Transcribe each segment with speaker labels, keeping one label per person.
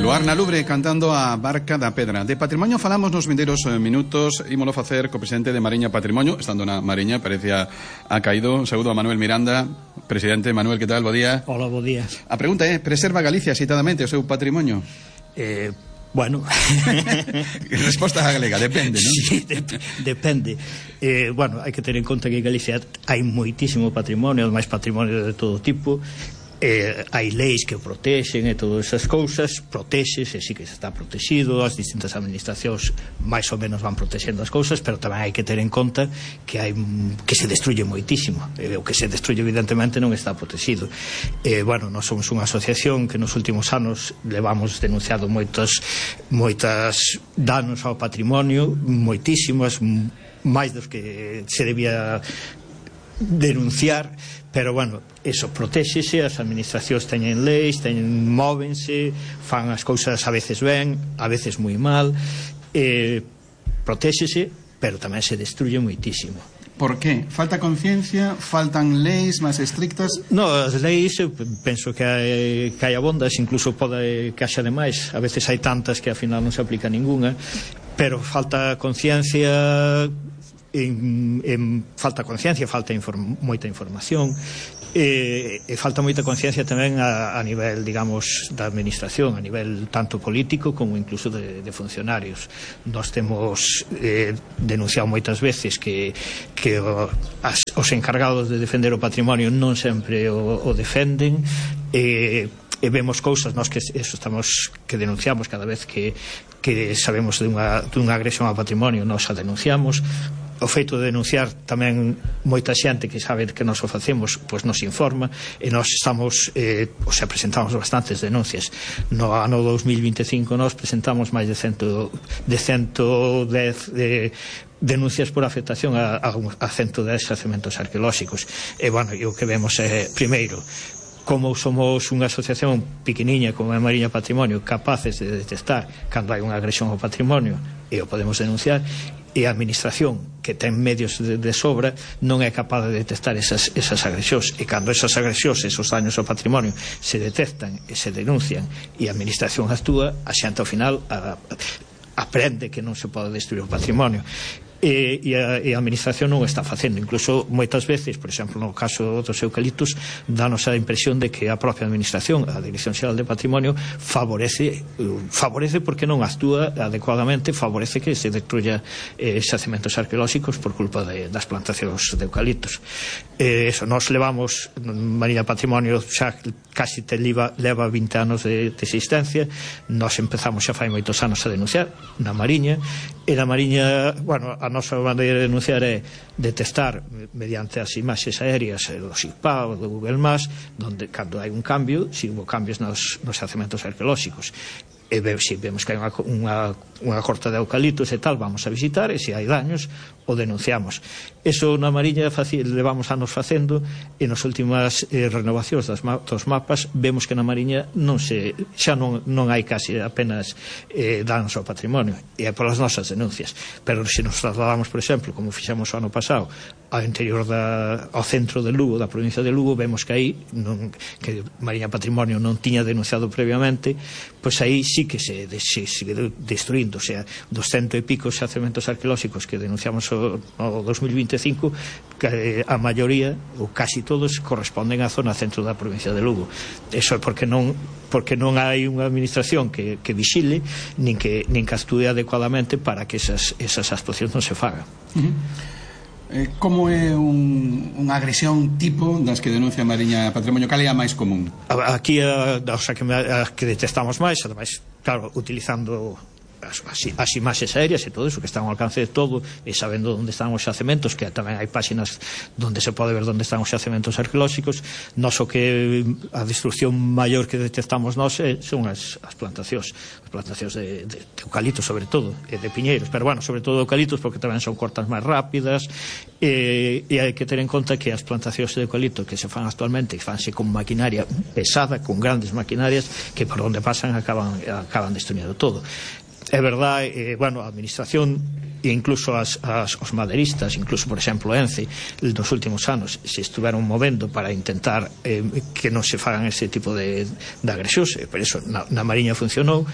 Speaker 1: Luar na Lubre cantando a Barca da Pedra. De patrimonio falamos nos vindeiros minutos. Ímolo facer co presidente de Mariña Patrimonio. Estando na Mariña, parecía ha caído. Saúdo a Manuel Miranda. Presidente, Manuel, que tal? Bo día.
Speaker 2: Hola, bo día.
Speaker 1: A pregunta é, preserva Galicia citadamente o seu patrimonio?
Speaker 2: Bueno.
Speaker 1: Resposta galega, depende, non?
Speaker 2: Sí, depende. Bueno, hai que ter en conta que en Galicia hai moitísimo patrimonio, máis patrimonio de todo tipo. Hai leis que o protexen e todas esas cousas, protéxese, sí que está protegido, as distintas administracións máis ou menos van protexendo as cousas, pero tamén hai que ter en conta que que se destruye moitísimo, o que se destruye evidentemente non está protegido. Bueno, nós somos unha asociación que nos últimos anos levamos denunciado moitos danos ao patrimonio, moitísimos, máis dos que se debía denunciar, pero bueno, eso, protéxese, as administracións teñen leis, móvense, fan as cousas a veces ben, a veces moi mal, protéxese, pero tamén se destruye moitísimo.
Speaker 1: Por qué? Falta conciencia? Faltan leis máis estrictas?
Speaker 2: No, as leis, penso que hai abondas, incluso pode que haxa demais, a veces hai tantas que ao final non se aplica ninguna, pero falta conciencia, falta moita información, e falta moita conciencia tamén a nivel, digamos, da administración, a nivel tanto político como incluso de funcionarios. Nós temos denunciado moitas veces que os encargados de defender o patrimonio non sempre o defenden, e vemos cousas nós que denunciamos cada vez que sabemos dunha agresión ao patrimonio, nós a denunciamos. O feito de denunciar tamén moita xente que sabe que nós o facemos, pois nos informa, e nós presentamos bastantes denuncias. No ano 2025 nós presentamos máis de 110 denuncias por afectación a 110 xacementos arqueolóxicos. E bueno, o que vemos é, primeiro, como somos unha asociación pequeniña como a Mariña Patrimonio, capaces de detectar cando hai unha agresión ao patrimonio e o podemos denunciar, e a administración, que ten medios de sobra, non é capaz de detectar esas agresións, e cando esas agresións, esos daños ao patrimonio se detectan e se denuncian e a administración actúa, a xente ao final aprende que non se pode destruir o patrimonio. E a administración non o está facendo. Incluso moitas veces, por exemplo, no caso dos eucaliptos, danos a impresión de que a propia administración, a Dirección Xeral de Patrimonio, favorece porque non actúa adecuadamente, favorece que se destruya xacementos arqueolóxicos por culpa das plantacións de eucaliptos. Nos levamos, Mariña Patrimonio xa casi leva 20 anos de existencia. Nos empezamos xa fai moitos anos a denunciar na Mariña, e na Mariña, bueno, a nosa maneira de denunciar é detectar mediante as imaxes aéreas do SIGPA ou do Google Maps, donde cando hai un cambio, se hubo cambios nos xacementos arqueolóxicos, e se vemos que hai unha corta de eucaliptos e tal, vamos a visitar, e se hai daños o denunciamos. Eso na Mariña levamos anos facendo, e nas últimas renovacións dos mapas vemos que na Mariña xa non hai casi apenas danos ao patrimonio, e é polas nosas denuncias. Pero se nos trasladamos, por exemplo, como fixemos o ano pasado, ao interior ao centro de Lugo, da provincia de Lugo, vemos que aí que Mariña Patrimonio non tiña denunciado previamente, pois aí sí que se sigue destruindo. O sea, dos 100 e pico xacementos arqueolóxicos que denunciamos no 2025, que a maioría, ou casi todos, corresponden á zona centro da provincia de Lugo. Eso é porque non hai unha administración que vigile, nin que actúe adecuadamente para que esas actuacións non se fagan.
Speaker 1: Como é unha agresión tipo das que denuncia Mariña Patrimonio? Cal é a máis común?
Speaker 2: Aquí a que detectamos máis, ademais, claro, utilizando as imaxes aéreas e todo eso que están ao alcance de todo, e sabendo onde están os xacementos, que tamén hai páxinas onde se pode ver onde están os xacementos arqueolóxicos. Nós o que a destrucción maior que detectamos nós son as plantacións de eucaliptos, sobre todo, e de piñeiros, pero bueno, sobre todo eucaliptos, porque tamén son cortas máis rápidas, e hai que ter en conta que as plantacións de eucalipto que se fan actualmente fanse con maquinaria pesada, con grandes maquinarias, que por onde pasan acaban destruindo todo. é verdade, bueno, a administración e incluso os madeiristas, incluso, por exemplo, Ence, nos últimos anos se estuveron movendo para intentar que non se fagan ese tipo de agresións, por iso na Mariña funcionou,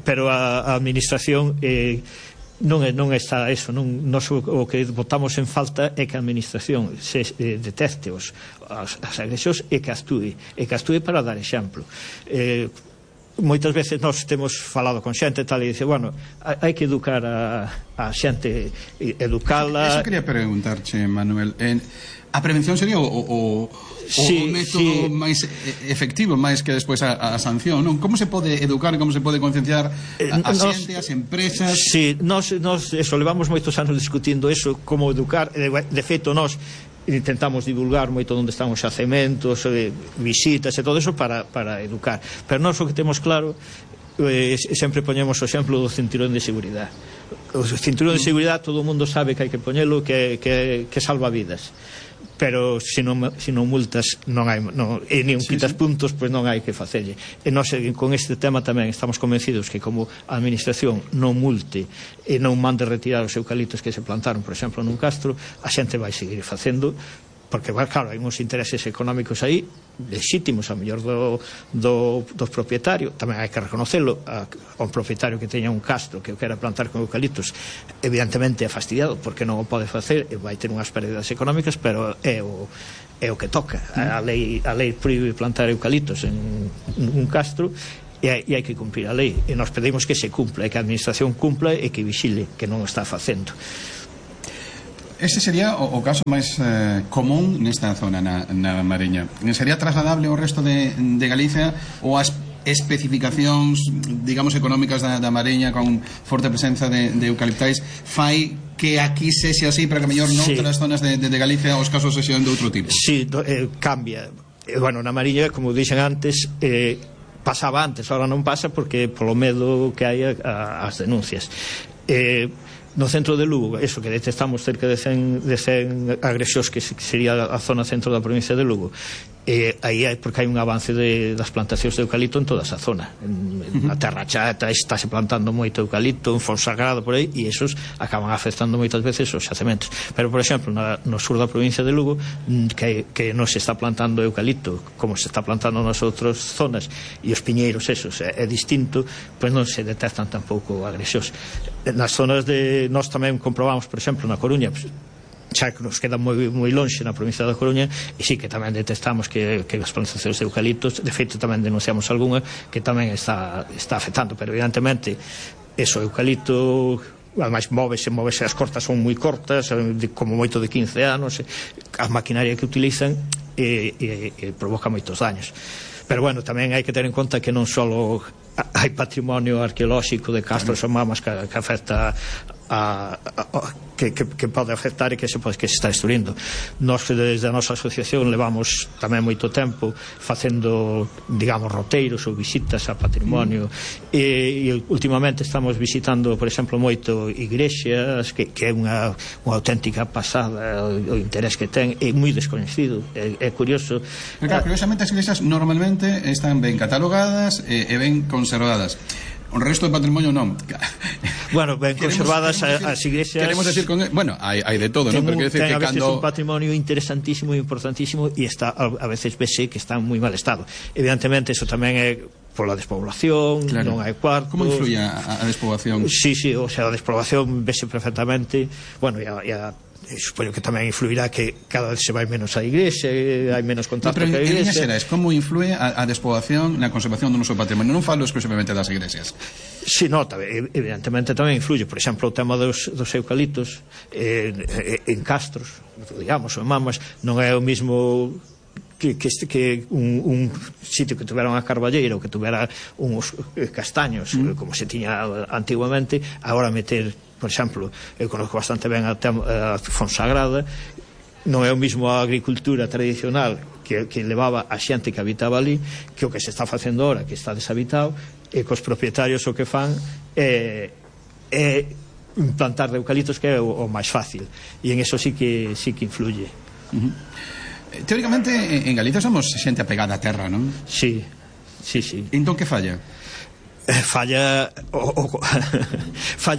Speaker 2: pero a administración non está eso, nos o que botamos en falta é que a administración se detecte as agresións e que actúe para dar exemplo. Moitas veces nós temos falado con xente e tal e dice, bueno, hai que educar a xente, educala.
Speaker 1: Eso quería preguntarche, Manuel, a prevención sería o método máis efectivo, máis que despois a sanción, non? Como se pode educar, como se pode concienciar a xente, as empresas?
Speaker 2: Si, nós eso, levamos moitos anos discutindo eso, como educar, de feito nós intentamos divulgar moito onde están os xacementos, visitas e todo eso para educar, pero nós o que temos claro, sempre poñemos o exemplo do cinturón de seguridade. O cinturón de seguridade todo o mundo sabe que hai que poñelo, que salva vidas, pero se non multas e nin quitas puntos, pois non hai que facerlle. E nós con este tema tamén estamos convencidos que como a administración non multe e non mande retirar os eucaliptos que se plantaron, por exemplo, nun castro, a xente vai seguir facendo, porque, claro, hai uns intereses económicos aí legítimos, a mellor do propietario, tamén hai que reconocelo, ao propietario que teña un castro que o quera plantar con eucaliptos, evidentemente é fastidiado porque non o pode facer e vai ter unhas pérdidas económicas, pero é o que toca. A lei proíbe plantar eucaliptos en un castro e hai que cumprir a lei, e nos pedimos que se cumpla, e que a administración cumpla e que vigile que non o está facendo.
Speaker 1: Ese sería o caso máis común nesta zona na Mariña. Sería trasladable ao resto de Galicia, ou as especificacións, digamos, económicas da Mariña con forte presenza de eucaliptais fai que aquí sexe así, pero que mellor noutras zonas de Galicia os casos sexan de outro tipo?
Speaker 2: Si, cambia. Bueno, na Mariña, como dixen antes, pasaba antes, ahora non pasa porque polo medo que hai as denuncias. No centro de Lugo, eso que detectamos cerca de 100 agresións, que sería a zona centro da provincia de Lugo, aí porque hai un avance das plantacións de eucalipto en toda esa zona. Na Terra Chata estáse plantando moito eucalipto, en Fonsagrada por aí, e esos acaban afectando moitas veces os xacementos. Pero, por exemplo, no sur da provincia de Lugo, que non se está plantando eucalipto como se está plantando nas outras zonas, e os piñeiros esos é distinto, pois non se detectan tampouco agresións. Nas zonas nós tamén comprobamos, por exemplo, na Coruña, xa que nos queda moi lonxe na provincia da Coruña, e sí que tamén detectamos que as plantacións de eucaliptos, de feito tamén denunciamos algunha que tamén está afectando, pero evidentemente eso, eucalipto, ademais móvese, as cortas son moi cortas, como moito de 15 anos, a maquinaria que utilizan provoca moitos daños. Pero bueno, tamén hai que ter en conta que non só hai patrimonio arqueolóxico de castros ou mamas que afecta que pode afectar e que se está destruindo. Nós desde a nosa asociación levamos tamén moito tempo facendo, digamos, roteiros ou visitas a patrimonio, e últimamente estamos visitando, por exemplo, moito igrexas, que é unha auténtica pasada o interés que ten, é moi descoñecido, é curioso.
Speaker 1: Pero claro, curiosamente as igrexas normalmente están ben catalogadas e ben conservadas. O resto do patrimonio non.
Speaker 2: Bueno, ben conservadas as iglesias.
Speaker 1: Queremos decir con... Bueno, hai de todo, non? Pero quero decir que
Speaker 2: a veces un patrimonio interesantísimo e importantísimo, e está a veces vese que está en moi mal estado. Evidentemente, eso tamén é pola despoblación, non hai cuartos.
Speaker 1: Como influye a despoblación?
Speaker 2: Sí, o sea, a despoblación vese perfectamente. Bueno, supoño que tamén influirá que cada vez se vai menos á igrexa, hai menos contacto ca igrexa.
Speaker 1: Pero en líneas xerais, como influe a despoblación na conservación do noso patrimonio? Non falo exclusivamente das igrexas.
Speaker 2: Si, evidentemente tamén influye. Por exemplo, o tema dos eucaliptos en castros, digamos, ou en mamas, non é o mismo que un sitio que tuvera unha carballeira ou que tuvera uns castaños, como se tiña antiguamente. Agora meter, por exemplo, eu conozco bastante ben a Fonsagrada, non é o mismo a agricultura tradicional que levaba a xente que habitaba ali que o que se está facendo ahora, que está deshabitado, e cos propietarios o que fan é plantar de eucaliptos, que é o máis fácil, e en eso sí que influye.
Speaker 1: Teóricamente en Galicia somos xente apegada á terra, non?
Speaker 2: Sí.
Speaker 1: Entón que falla?
Speaker 2: falla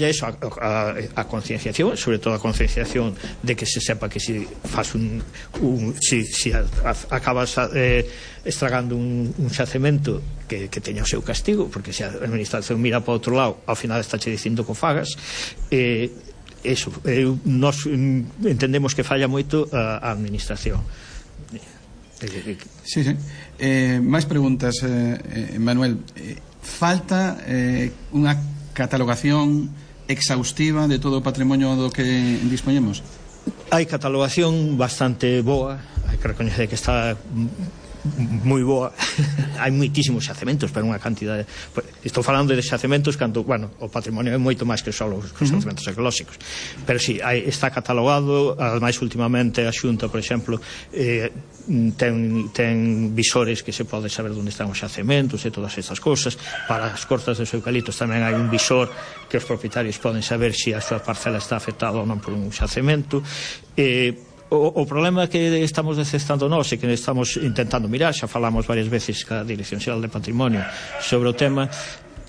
Speaker 2: eso, a concienciación, sobre todo a concienciación de que se sepa que si faz si acabas estragando un xacemento que teña o seu castigo, porque se a administración mira para outro lado, ao final está che dicindo que o fagas. Eso, nós entendemos que falla moito a administración.
Speaker 1: Sí. Máis preguntas, Manuel. Falta unha catalogación exhaustiva de todo o patrimonio do que dispoñemos?
Speaker 2: Hai catalogación bastante boa, hai que recoñecer que está moi boa. Hai moitísimos xacementos, pero unha cantidade, estou falando de xacementos cando, bueno, o patrimonio é moito máis que só os xacementos arqueolóxicos, pero si, está catalogado. Ademais, últimamente a Xunta, por exemplo, ten visores que se pode saber onde están os xacementos e todas estas cousas. Para as cortas dos eucaliptos tamén hai un visor que os propietarios poden saber se a súa parcela está afectada ou non por un xacemento. O problema que estamos detectando nós e que estamos intentando mirar, xa falamos varias veces ca Dirección Xeral de Patrimonio sobre o tema,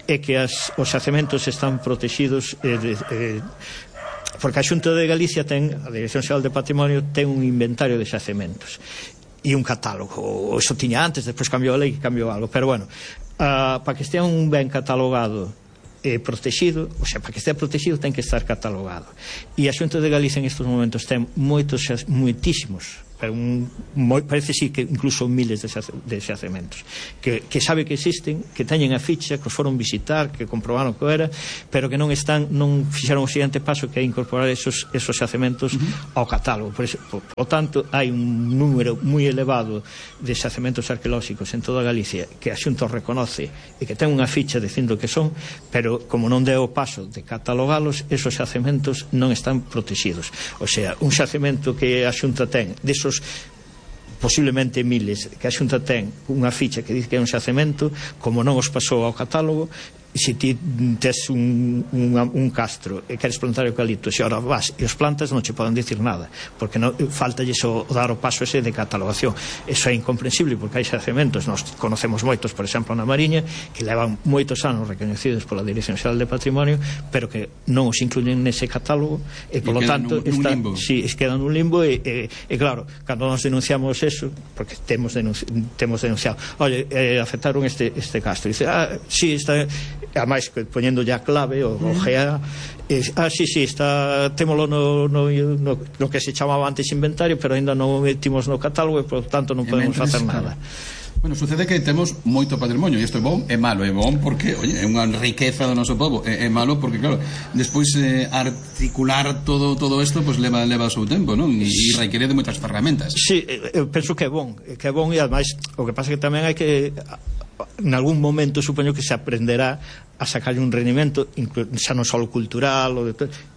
Speaker 2: é que os xacementos están protegidos porque a Xunta de Galicia a Dirección Xeral de Patrimonio ten un inventario de xacementos e un catálogo. Eso tiña antes, despois cambiou a lei, cambiou algo, pero bueno, para que estea un ben catalogado protegido, o sea, para que estea protegido ten que estar catalogado, e a Xunta de Galicia en estes momentos ten moitísimos, pero parece sí que incluso miles de xacementos que sabe que existen, que teñen a ficha, que os foron visitar, que comprobaron que era, pero que non fixeron o seguinte paso, que é incorporar esos xacementos ao catálogo. Por tanto, hai un número moi elevado de xacementos arqueolóxicos en toda Galicia que a Xunta reconoce e que ten unha ficha dicindo que son, pero como non deu o paso de catalogalos, esos xacementos non están protegidos. O sea, un xacemento que a Xunta ten desos posiblemente miles que a Xunta ten unha ficha que dice que é un xacemento, como non os pasou ao catálogo, se ti tes un castro e queres plantar eucaliptos e ahora vas e os plantas, non che poden dicir nada, porque faltalles dar o paso ese de catalogación. Eso é incomprensible, porque hai xacementos, nós conocemos moitos, por exemplo, na Mariña, que levan moitos anos recoñecidos pola Dirección Xeral de Patrimonio, pero que non os incluyen nese catálogo e, polo tanto, quedan nun limbo e claro, cando nos denunciamos eso, porque temos denunciado, oye, afectaron este castro, dice, sí, está, ademais poñendo ya clave o GA, sí, está, témolo no que se chamaba antes inventario, pero ainda non o metimos no catálogo e, por tanto, non podemos facer nada.
Speaker 1: Bueno, sucede que temos moito patrimonio, e isto é bom e malo. É bom porque, oye, é unha riqueza do noso povo, é malo porque, claro, despois articular todo isto, pues leva o seu tempo, non? E requiere de moitas ferramentas.
Speaker 2: Sí, eu penso que é bom, e ademais o que pasa é que tamén hai que, en algún momento, supoño que se aprenderá a sacar un rendimento, xa non só cultural,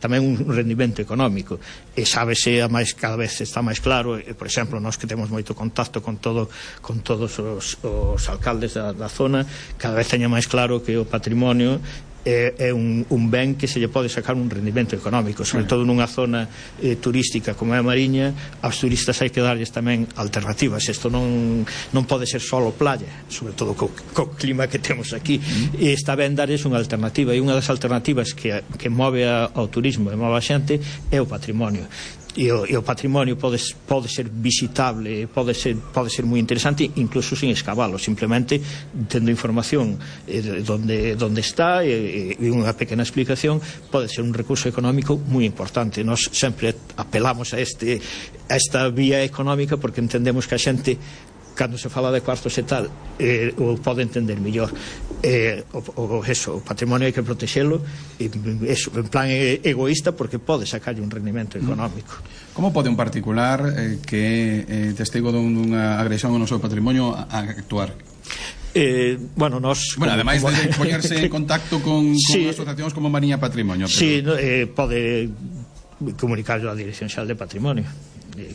Speaker 2: tamén un rendimento económico, e sábese, máis, cada vez está máis claro, por exemplo, nós que temos moito contacto con todos os alcaldes da zona, cada vez teña máis claro que o patrimonio é un ben que se lle pode sacar un rendimento económico, sobre todo nunha zona turística como é a Mariña. Aos turistas hai que darlles tamén alternativas. Isto non pode ser só playa, sobre todo co clima que temos aquí, e está ben darlles unha alternativa, e unha das alternativas que move ao turismo e move a xente é o patrimonio. E o patrimonio pode ser visitable, pode ser moi interesante, incluso sin escavalo, simplemente tendo información donde está e unha pequena explicación, pode ser un recurso económico moi importante. Nós sempre apelamos a esta vía económica porque entendemos que a xente, cando se fala de cuartos e tal, o pode entender mellor. O patrimonio hai que protexelo en plan egoísta, porque pode sacarlle un rendimento económico.
Speaker 1: Como pode un particular que é testigo dunha agresión ao noso patrimonio actuar? Ademais de poñerse en contacto con asociacións como Mariña Patrimonio.
Speaker 2: Sí, pode comunicarlo á Dirección Xeral de Patrimonio.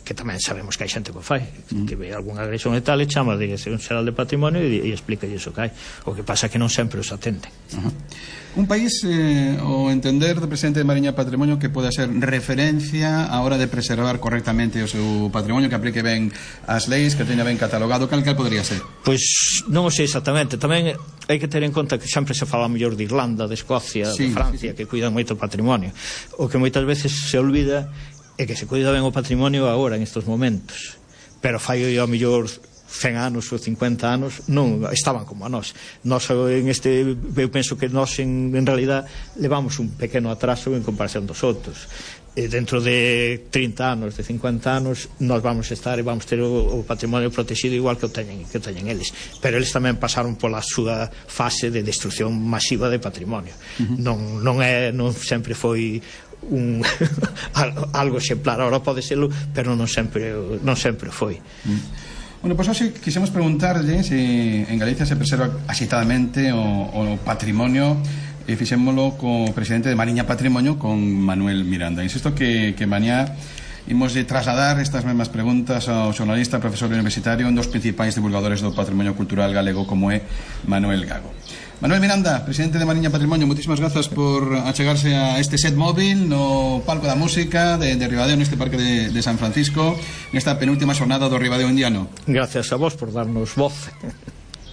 Speaker 2: que tamén sabemos que hai xente que o fai, que ve algunha agresión e tal, e chama a Dirección Xeral de Patrimonio e explica iso que hai. O que pasa é que non sempre os atenden.
Speaker 1: Un país, o entender do presidente de Mariña Patrimonio, que poda ser referencia a hora de preservar correctamente o seu patrimonio, que aplique ben as leis, que teña ben catalogado, cal podría ser?
Speaker 2: Pois non o sei exactamente. Tamén hai que ter en conta que sempre se fala mellor de Irlanda, de Escocia, de Francia, que cuidan moito o patrimonio. O que moitas veces se olvida é que se cuida ben o patrimonio agora, en estes momentos, pero fai ao mellor 100 anos ou 50 anos non estaban como a nós. Eu penso que nós en realidad levamos un pequeno atraso en comparación dos outros. Dentro de 30 anos, de 50 anos, nós vamos estar e vamos ter o patrimonio protegido igual que o teñen eles, pero eles tamén pasaron pola súa fase de destrucción masiva de patrimonio. Non sempre foi algo exemplar. Ahora pode serlo, pero non sempre foi.
Speaker 1: Bueno, pois hoxe quixemos preguntarlle se en Galicia se preserva axitadamente o patrimonio, e fixémolo co presidente de Mariña Patrimonio, con Manuel Miranda. Insisto que mañá imos de trasladar estas mesmas preguntas ao xornalista, profesor universitario, un dos principais divulgadores do patrimonio cultural galego, como é Manuel Gago. Manuel Miranda, presidente de Mariña Patrimonio, moitísimas grazas por achegarse a este set móvil no palco da música de Ribadeo, neste parque de San Francisco, nesta penúltima xornada do Ribadeo Indiano.
Speaker 2: Gracias a vos por darnos voz.